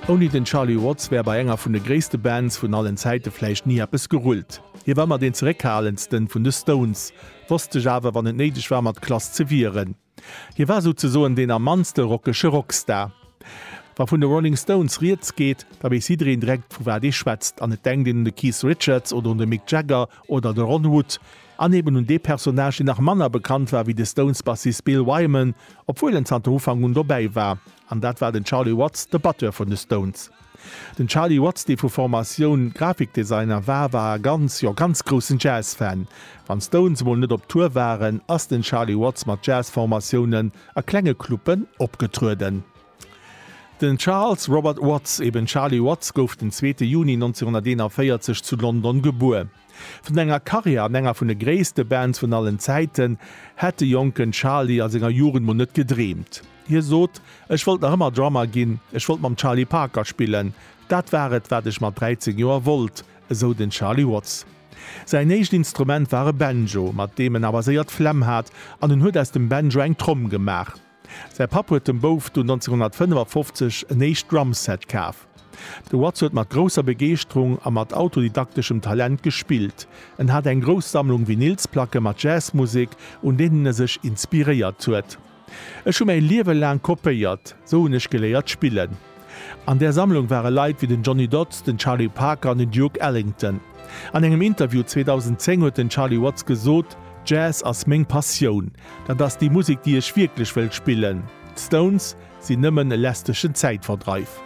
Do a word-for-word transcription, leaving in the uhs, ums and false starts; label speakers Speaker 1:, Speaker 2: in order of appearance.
Speaker 1: Ouni den Charlie Watts wär bei enger vun de gréisste Bands vun allen Zäite vläicht ni eppes gerullt. Hie war ëmmer deen zeréckhalendsten vun de Stones, wosst sech awer wann et néideg war mat Klass ze wieren. Hie war souzesoen deen am mannste rockege Rockstar. Wa vun de Rolling Stones rieds geet, da weess jiddereen direkt vu wat ee schwätzt an et denkt een un de Keith Richards oder un de Mick Jagger oder de Ron Wood. An eben un dee Personnage, deen nach manner bekannt war wéi de Stones-Bassist Bill Wyman, obwuel en zanter Ufank un dobäi war. An dat war den Charlie Watts, de Batteur vun de Stones. Den Charlie Watts, dee vu Formatioun Grafikdesigner war, war e ganz, jo ganz groussen Jazz-Fan. Wann d'Stones emol net op Tour waren, ass den Charlie Watts mat Jazz-Formatiounen a klenge Clubben opgetrueden. Den Charles Robert Watts, eben Charlie Watts, gouf den zweete Juni nonzénhunnerteenanvéierzeg zu London gebuer. Vun enger Karriär an enger vun de gréisste Bands vun allen Zäiten hätt de jonken Charlie a senger Jugend mol net gedreemt. Hie sot, Ech wollt nach ëmmer Drummer ginn, ech wollt mam Charlie Parker spillen. Dat war et, wat ech mat dräizéng Joer wollt, esou den Charlie Watts. Säin éischt Instrument war e Banjo, mat deem en awer séier d'Flemm hat an en huet aus dem Banjo eng Tromm gemaach. Säi Papp huet dem Bouf dunn nonzénhunnertfënnefafofzeg en éischt Drumset kaf. De Watts huet mat grousser Begeeschterung a mat autodidakteschem Talent gespillt. En hat eng grouss Sammlung Vinylsplacke mat Jazzmusek, un deenen e sech inspiréiert huet. Ech hu mäi Liewe laang kopéiert, sou hunn ech geléiert spillen. An där Sammlung ware Leit wéi den Johnny Dodds, den Charlie Parker an den Duke Ellington. An engem Interview zweedausenzéng huet den Charlie Watts gesot, Jazz ass meng Passioun. Dat ass déi Musek, déi ech wierklech wëll spillen. D'Stones sinn nëmmen e lästegen Zäitverdreif.